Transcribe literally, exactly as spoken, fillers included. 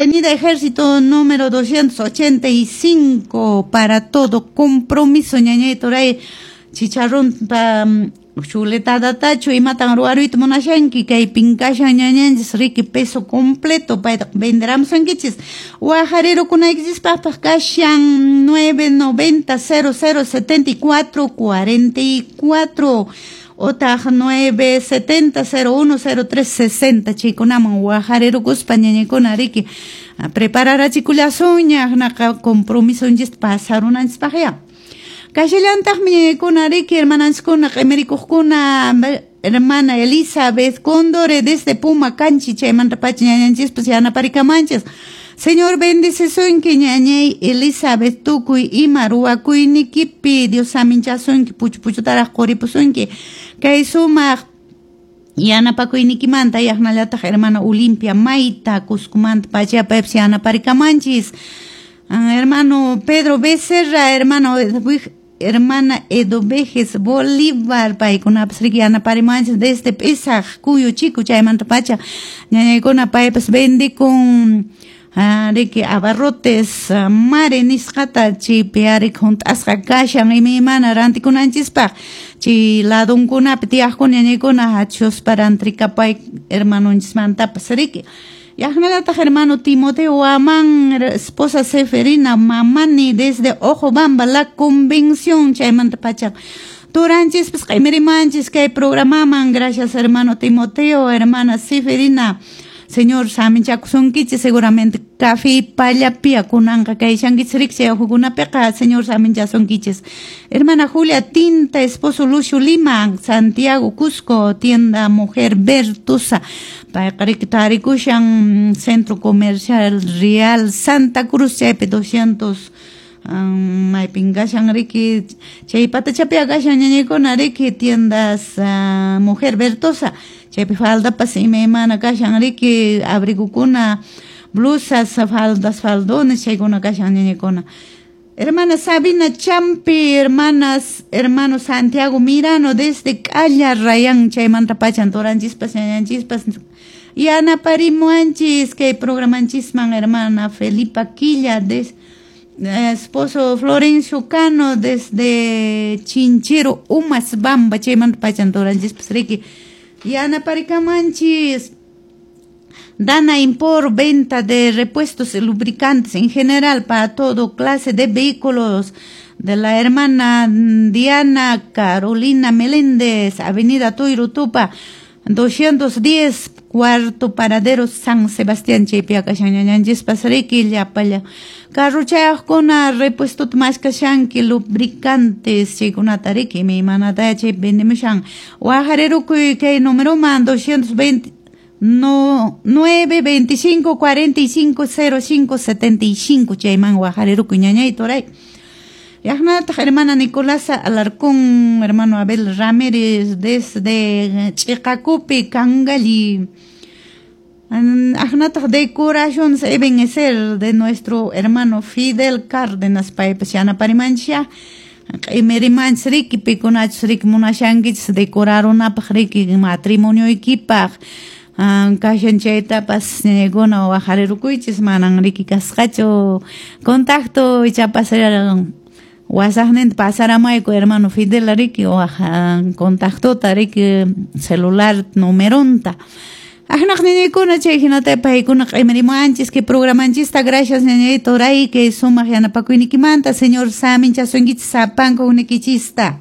Avenida Ejército número doscientos ochenta y cinco para todo compromiso ñañay turay chicharrón pa chuletadatachu imatan ruwaruyta munashanki kaypin kashan ñañanchis riki peso completo payta venderamusunkichis waqarirukunaykichispaqpaq kashan nueve noventa cero cero setenta y cuatro cuarenta y cuatro otaq nueve setenta cero uno cero tres sesenta chaykunaman waqarirukuspa ñañaykuna riki prepararachikullasunña hinaqa compromisonchista pasarunanchispaqya. Kashillantaqmi ñañaykuna riki hermananchiskuna q'imirikuqkuna hermana Elizabeth Condore desde Puma Canchi chaymanta pacha ñañanchispas yanaparikamanchis. Señor bendecisunki ñañay Elizabeth tukuy ima ruwakuynikipi Dios saminchasunki puchu puchutaraq quripusunki kay sumaq yanapakuynikimanta yaqnallataq hermana Olimpia Mayta Cuscomanta pacha paypas yanaparikamanchis. Hermano Pedro Becerra, hermano hermana Edovejes Bolívar, paykunapas riki yanaparimanchis desde P'isaq Cuyo Chico chaymanta pacha ñañaykuna paypas vendikun riki abarrotes mare nisqata chaypi ari hunt'asqa kashan imaymana rantikunanchispaq chay ladunkunapi tiyaqkuna ñañaykuna hachuspa rantrikapay hermanonchismantapas riki. Yaqnallataq hermano Timoteo Amán, esposa Seferina Mamani desde Ojobamba, La Convención, chaymanta pacha turanchispas q'imirimanchis kay programaman. Gracias hermano Timoteo, hermana Seferina. Señor saminchakusunkichis seguramente café pallapia kunanqa kayshankichis riki chay uhukunapiqa Señor saminchasunkichis. Hermana Julia Tinta, esposo Lucio Lima, Santiago Cusco, tienda Mujer Bertusa. Payqa riki tarikushan Centro Comercial Real Santa Cruz chaypi doscientos maypin kashan riki chay patachapia kashan ñañaykuna riki tiendas uh, Mujer Bertosa chaypi faldapas imaymana kashan riki abrigukuna blusas faldas faldones chaykuna kashan ñañaykuna. Hermana Sabina Champi, hermanas, hermano Santiago Mirano desde Calla Rayán chaymanta pachan turanchispas ñañanchispas yanaparimuanchis kay programanchisman hermana Felipa Quilla des esposo Florencio Cano desde Chinchero Umas Bamba chaymanta pachan turanchispas riki yanaparikamanchis. Dana Impor, venta de repuestos y lubricantes en general para todo clase de vehículos de la hermana Diana Carolina Meléndez, Avenida Tuyrutupa, doscientos diez, cuarto paradero San Sebastián, chaypi kashan ñañanchispas riki llapalla carruchayaqkuna repuestota maskashanki lubricantes chaykunata riki imaymanata chaypi vendemushan. Waqarirukuy kay numeroman doscientos veinte no nueve veinticinco cuarenta y cinco cero cinco setenta y cinco chayman waqarirukuy ñañay turay. Yaqnataq hermana Nicolasa Alarcón, hermano Abel Ramírez desde Chiqacupi, Cangalli. Ajnataq decoraciones Ebenezer de nuestro hermano Fidel Cárdenas paypas yanaparimanchis q'imirimanchis riki pikunachus riki munashankichis decorarunapaq riki matrimonioykipaq kashan chaytapas ñañaykuna waqarirukuychis manan riki kasqachu contacto ichapas wasaqninta pasaramayku hermano Fidel riki waq contactota riki celular numeronta. Ajnaq ñañaykuna chay hinata paykuna q'imirimuanchis kay programanchista. Gracias ñañay turay kay sumaq yanapakuynikimanta. Señor saminchasunkichis sapanka unikichista.